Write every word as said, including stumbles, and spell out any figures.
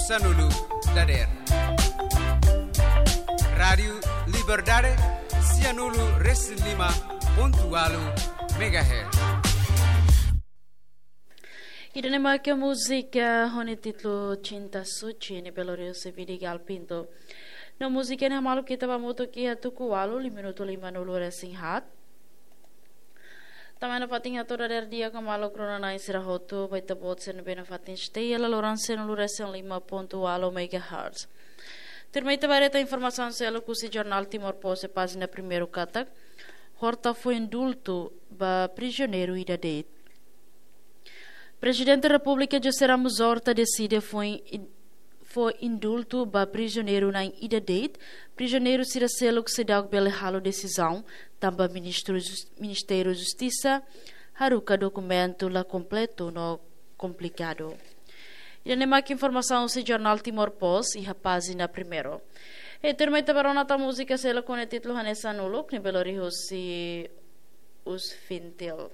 Sanulu dader. Rádiu Liberdade, sianulu resin lima pontu ualu megahertz. Ida-ne'e mak múzika ho nia títulu Cinta Suci, ne'ebé lori husi Vidigal Pinto. No múzika ne'e hamaluk ita ba hamutuk iha tuku ualu, lima minutu lima nulu resin haat. Tanba ne'e fatin hato'o dader di'ak ho maluk rona-na'in sira hotu, ba ita-boot sira ne'ebé nafatin stay iha laloran sianulu resin lima pontu ualu megahertz. Tuirmai ita ba haree informasaun seluk husi jornál Timor Post iha pájina primeiru katak, Horta fó indultu ba prizioneiru ida de'it. Prezidente Repúblika José Ramos Horta deside fó in-, fó indultu ba prizioneiru na'in ida de'it, prizioneiru sira seluk seidauk bele halo desizaun, tanba Ministru Jus-, Ministériu Justisa haruka dokumentu la kompletu no komplikadu. Ida-ne'e mak informasaun husi jornál Timor Post iha pájina primeiru. E tuirmai ita ba rona tan múzika seluk ho nia títulu Hanesan Uluk, ne'ebé lori husi Us Fintil.